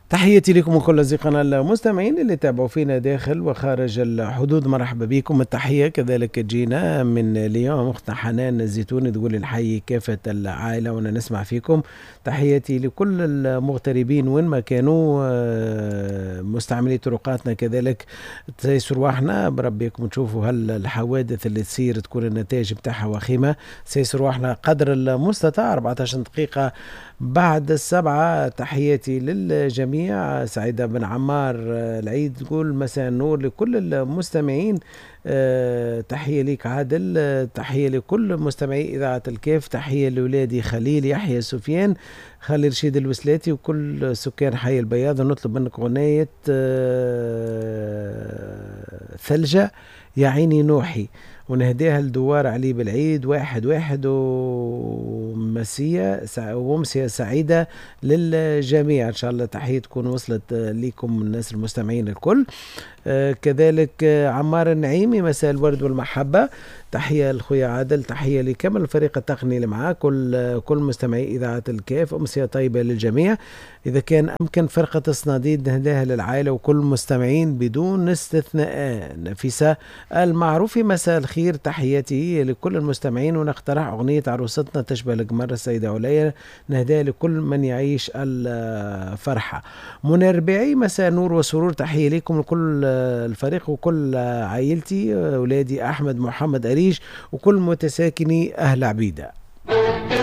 تحياتي لكم وكل أصدقائنا المستمعين اللي تابعوا فينا داخل وخارج الحدود، مرحبا بكم. التحية كذلك تجينا من ليون، أختنا حنان الزيتوني تقول نحيي كافة العائلة وانا نسمع فيكم. تحياتي لكل المغتربين وين ما كانوا، مستعملي طرقاتنا كذلك تسيسوا رواحنا بربيكم، تشوفوا هل الحوادث اللي تصير تكون النتائج بتاعها وخيمة. سيسوا رواحنا قدر المستطاع. 14 دقيقة بعد 7، تحياتي للجميع. سعيدة بن عمار العيد تقول مساء النور لكل المستمعين. تحية لك عادل، تحية لكل مستمعي إذاعة الكاف، تحية لولادي خليل يحيى سفيان خليل رشيد الوسلاتي وكل سكان حي البياض. ونطلب منك أغنية ثلجة يا عيني نوحي، ونهديها لدوار علي بالعيد 1-1، ومسية سعيدة للجميع إن شاء الله. تحية تكون وصلت لكم الناس المستمعين الكل. كذلك عمار النعيمي مساء الورد والمحبة، تحية لخويا عادل، تحية لكامل الفريق التقني اللي معاه، كل مستمعي إذاعة الكاف. أمسية طيبة للجميع. إذا كان أمكن فرقة الصناديد نهداها للعائلة وكل المستمعين بدون استثناء. نفيسة المعروفي مساء الخير، تحياتي لكل المستمعين، ونقترح أغنية عروستنا تشبه القمر السيدة عليا، نهداها لكل من يعيش الفرحة. منى ربيعي مساء نور وسرور، تحية لكم لكل الفريق وكل عائلتي، أولادي أحمد محمد أريج وكل متساكني أهل عبيدة.